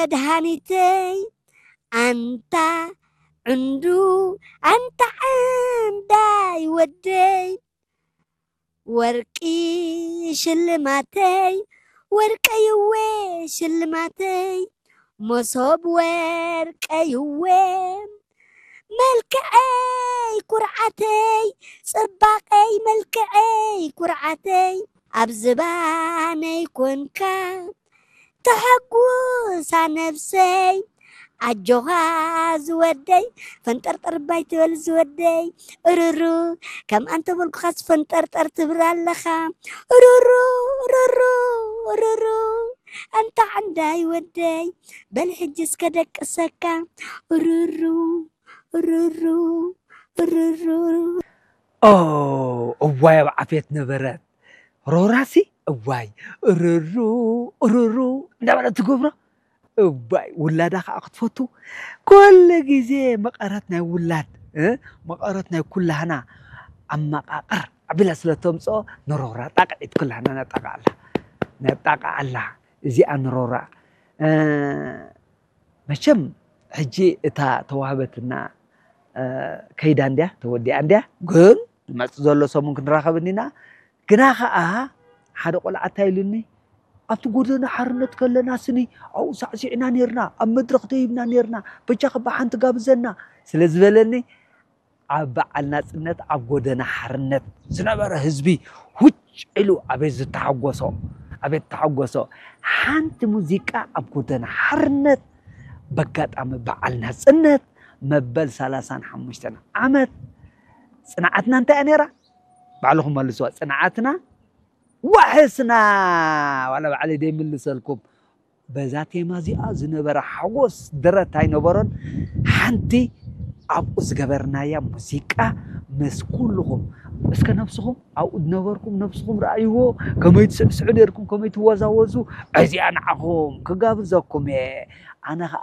መድሃኒተይ ኣንታ ዕንዱ ኣንታ ዕንዳይ ወደይ ወርቂ ሽልማተይ ወርቀይወ ሽልማተይ መሶብ ወርቀይወ መልክዐይ ኩርዓተይ ጽባቐይ መልክዐይ ኩርዓተይ ኣብ ዝባነይ ኮንካ ተሐጉሳ ነብሰይ ኣጆኻ ዝወደይ ፈንጠርጠር ባይ ትበል ዝወደይ እርሩ ከም ኣንተ በልኩኻስ ፈንጠርጠር ትብል ኣለኻ እርሩ እርሩ እርሩ ኣንታ ዓንዳይ ወደይ በል ሕጂ እስከ ደቅሰካ እርሩ እርሩ እርሩ ኦ እዋይ ኣብ ዓፍየት ነበረት ሮራሲ እዋይ እርሩ እርሩ እንዳበለት ትገብሮ እዋይ ውላዳ ከዓ ክትፈቱ ኩሉ ግዜ መቐረት ናይ ውላድ እ? መቐረት ናይ ኩላህና ኣመቃቕር ኣቢላ ስለ ተምፅኦ ንሮራ ጣቅዒት ኩላህና ነጣቃዓላ ነጣቃዓላ እዚኣ ንሮራ እ፣ መቸም ሕጂ እታ ተዋህበትና እ፣ ከይዳ እንድያ ተወዲኣ እንድያ ግን ንመፅ ዘሎ ሰሙን ክንራኸብ እኒና ግና ከዓ ሓደ ቆልዓ እንታይ ኢሉኒ ኣብቲ ጎደና ሓርነት ከለና ስኒ ኣብኡ ሳዕሲዕና ነርና ኣብ መድረኽ ደይብና ነርና በጃ ከባ ሓንቲ ጋብዘና ስለ ዝበለኒ ኣብ በዓል ናፅነት ኣብ ጎደና ሓርነት ዝነበረ ህዝቢ ሁጭ ኢሉ ኣቤት ዝተሓጎሶ ኣቤት ተሓጎሶ ሓንቲ ሙዚቃ ኣብ ጎደና ሓርነት በጋጣሚ በዓል ናፅነት መበል ሰላሳን ሓሙሽተን ዓመት ፅንዓትና እንታይ እያ ነይራ ባዕልኹም መልስዋ ፅንዓትና ዋሕስና ዋላ ባዕለይ ደይምልሰልኩም በዛ ቴማ እዚኣ ዝነበረ ሓጎስ ደረት ኣይነበሮን ሓንቲ ኣብኡ ዝገበርናያ ሙዚቃ ምስ ኩልኹም እስከ ነብስኹም ኣብኡ ዝነበርኩም ነብስኹም ረኣይዎ ከመይ ትስዕስዑ ነርኩም ከመይ ትወዛወዙ እዚኣ ንዓኹም ክጋብዘኩም እየ ኣነ ከዓ